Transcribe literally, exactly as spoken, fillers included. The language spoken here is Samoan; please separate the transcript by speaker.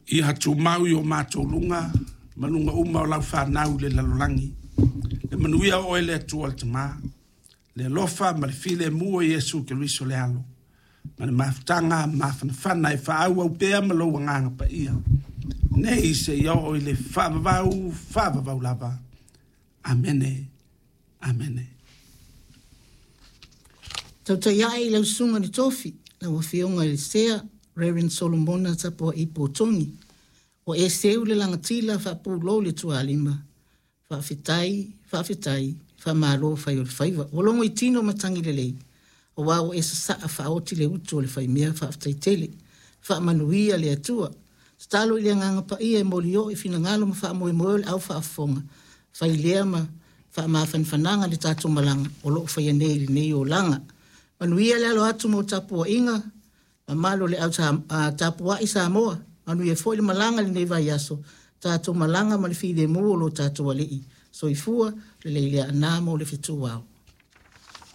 Speaker 1: Ia tumau i o matou luga ma luga uma o lau fanau i le lalolagi le manuia o oe le Atua le Tama, le alofa ma le filemu o Iesu Keriso le Alo, ma le mafutaga mafanafana e faaauau pea ma lou Agaga Paia, nei seia oo i le faavavau, faavavau lava. Amene. Amene.
Speaker 2: Tautai ae i lau susuga i le tofi, lau afioga i le Sea, Reverend Solomona Tapuai Togi, ua e seu le lagatila faapulou le tualima, faafetai, faafetai, faamalo fai o le faiva. Ua logo i tino matagi lelei, aua ua e sasaa faaoti le utu o le faimea faafetai tele. Faamanuia le Atua. Tatalo i le agaga paia e molio i finagalo ma faamoemoe o le au faafofoga, fai lea ma faamafanafanaga le tatou malaga o lo o faia nei i lenei olaga. Manuia le alo atu mo tapuaiga, mamalu o le au tapuai Samoa, manuia foi le malaga i lenei vaiaso, tatou malaga ma le filemu o lo tatou Alii. Soifua lelei le aana mo le fetu ao.